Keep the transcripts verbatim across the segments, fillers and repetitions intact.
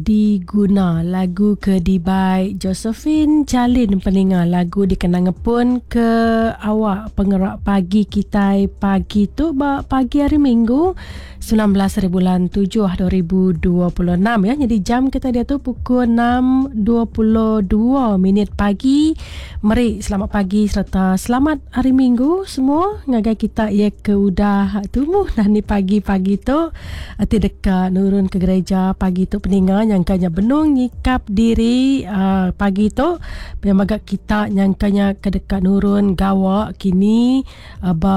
Diguna lagu ke dibai Josephine Jalin peninga lagu dikena ngepun ke awak pengerak pagi kitai pagi tu ba pagi hari Minggu sembilan belas hari bulan tujuh dua ribu dua puluh enam ya. Jadi jam kita dia tu pukul enam dua puluh dua minit pagi. Meri selamat pagi serta selamat hari Minggu semua ngagai kita ya ke udah tumbuh dan ni pagi-pagi tu ti deka nurun ke gereja pagi tu peninga nyangkanya benung nyikap diri uh, pagi tu pemaga kita nyangkanya ke deka nurun gawa kini uh, ba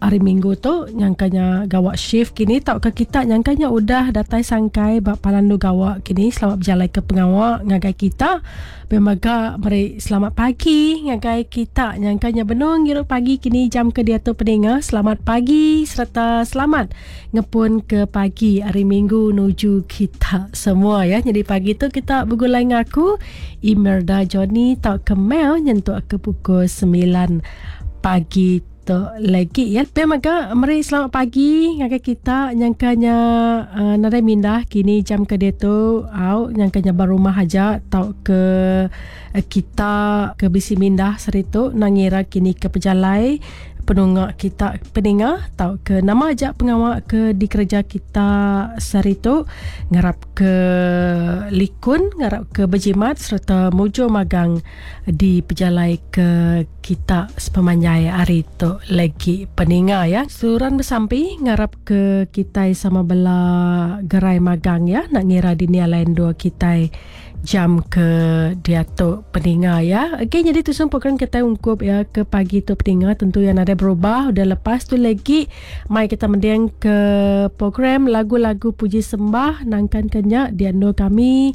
hari Minggu tu nyangkanya gawa shift kini tau ke kita nyangkanya udah datai sangkai ba palandu gawa kini. Selamat berjalai ke pengawa ngagai kita pemaga meri selamat pagi ngagai kita nyangkanya benung ngirup pagi kini jam ke dia tu peninga. Selamat pagi serta selamat ngepun ke pagi hari Minggu nuju kita semua ya. Jadi pagi tu kita bergulai ngaku Imelda Johnny tau ke Mel nyentuk ke pukul sembilan pagi tu lagi ya. Pe maka meri selamat pagi ngagai kita nyangkanya uh, nadai mindah kini jam ke dia tu au nyangkanya baru rumah aja tau ke uh, kita ke bisi mindah seritu nangira kini ke pejalai penungak kita peninga tau ke nama aja pengawak ke dikerja kita sehari tu ngarap ke likun ngarap ke berjimat serta mujur magang di pejalai ke kita sepemanjai hari tu lagi peninga ya. Suran bersampi ngarap ke kita sama bela gerai magang ya nak ngira dunia lain dua kita jam ke dia tu peninga ya. Okey, jadi tu semua program kita ungkup ya ke pagi tu peninga tentu yang ada berubah. Udah lepas tu lagi mai kita mendiang ke program lagu-lagu puji sembah nangkan kenyak di ando kami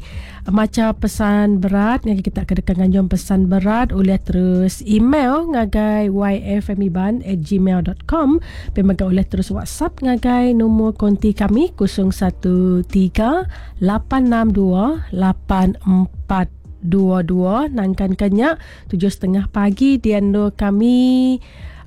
maca pesan berat yang kita kedekan nganjung pesan berat oleh terus email ngagai y f m iban at gmail dot com pemaga oleh terus WhatsApp ngagai nombor konti kami kosong satu tiga lapan enam dua lapan empat dua dua nangkan kenyak tujuh setengah pagi di ando kami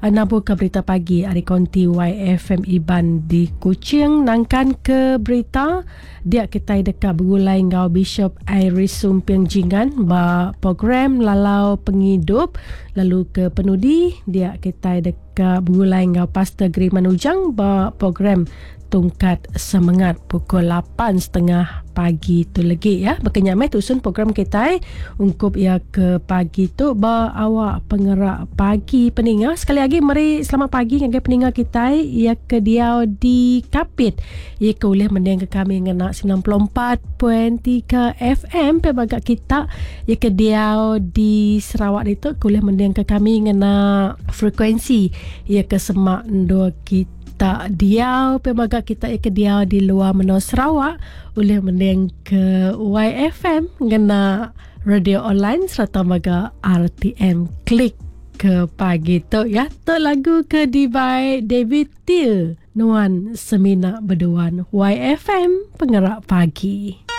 nabur ke berita pagi hari konti Y F M Iban di Kuching nangkan ke berita dia kita dekat bergulai ngau Bishop Iris Sumping Jingan ba program Lalau Penghidup lalu ke penudi dia kita dekat bergulai ngau Pastor Griman Ujang ba program Tungkat Semangat pukul lapan setengah pagi tu lagi ya. Berkenyamai tusun program kita ungkup ya ke pagi tu ba awak pengerak pagi peninga. Sekali lagi meri selamat pagi ngagai peninga kita ya ke dia di Kapit. Ya ke boleh mendengar kami ngena sembilan puluh empat perpuluhan tiga F M pe baga kita ya ke dia di Sarawak itu boleh mendengar kami ngena frekuensi ya ke semak dua kita tak diau pemaga kita ke diau di luar menua Sarawak boleh mending ke Y F M ngena radio online serta maga R T M klik ke pagi tu ya. Tu lagu ke dibai David Till Nuan Semina Berduan Y F M Pengerak Pagi.